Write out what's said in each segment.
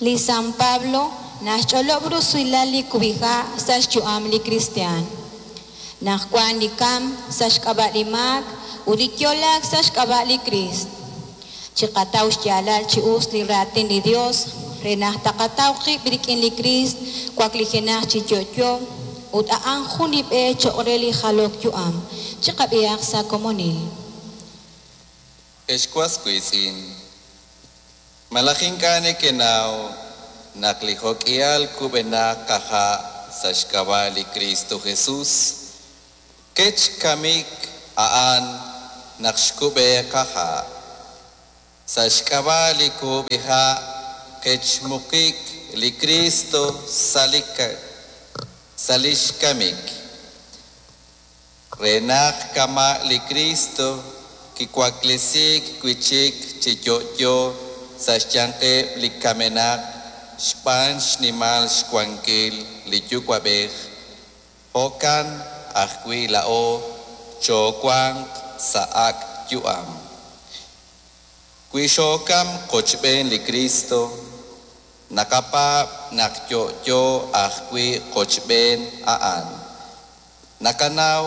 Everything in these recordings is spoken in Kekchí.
Li San Pablo naxch'olob' rusilal li kub'iha' sa' xyu'am li kristiaan. Naq wan li kamk sa' xk'ab'a' li maak ut li yo'laak sa' xk'ab'a' li Kriist. Chiqataw xyaalal chi us li raatin li Dios re naq taqataw qib' rik'in li Kriist waklijenaq chi yo'yo ut a'an jun li b'e cho'q re li jalok yu'am. Chiqab'ihaq sa' komonil. Ex was wiitz'in, malaj ink'a' nekenaw naq li jo'k'ihal kub'enaq qaha' sa' xk'ab'a' li Kristo Jesus, kech kamik a'an naq xkub'e qaha'. Sa' xk'ab'a' li kub'iha' kech muqik li Kristo sa' lix kamik. Re naq kama' li Kristo kiwaklesiik wi' chik chi yo'yo sa' xyanqeb' li kamenaq xb'aan xnimal xwankil li Yuwa'b'ej, jo'kan ajwi' laa'o choowanq sa' ak' yu'am. Wi xookam qochb'een li Kristo, naqapaab' naq yo'yo ajwi' qochb'een a'an. Naqanaw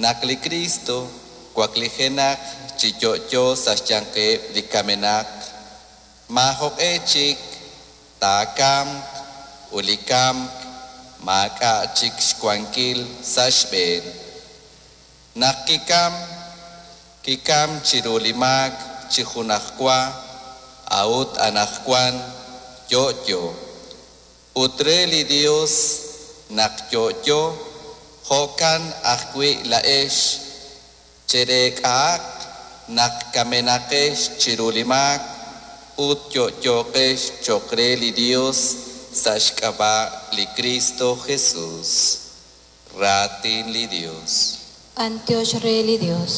naq li Kristo waklijenaq chi yo'yo sa' xyanqeb' li kamenaq, maajoq'e chik taakamq ut li kamk maak'a' chik xwankil sa' xb'een. Naq kikam, kikam chiru li maak chi junajwa, a'ut anaqwan yo'yo. Ut re li Dios naq yo'yo, jo'kan ajwi' laa'ex chereek'ahaq naq kamenaqex chiru li maak ut yo'yoqex cho'q re li Dios sa' xk'ab'a' li Kristo Jesus. Raatin li Dios. B'anyox re li Dios.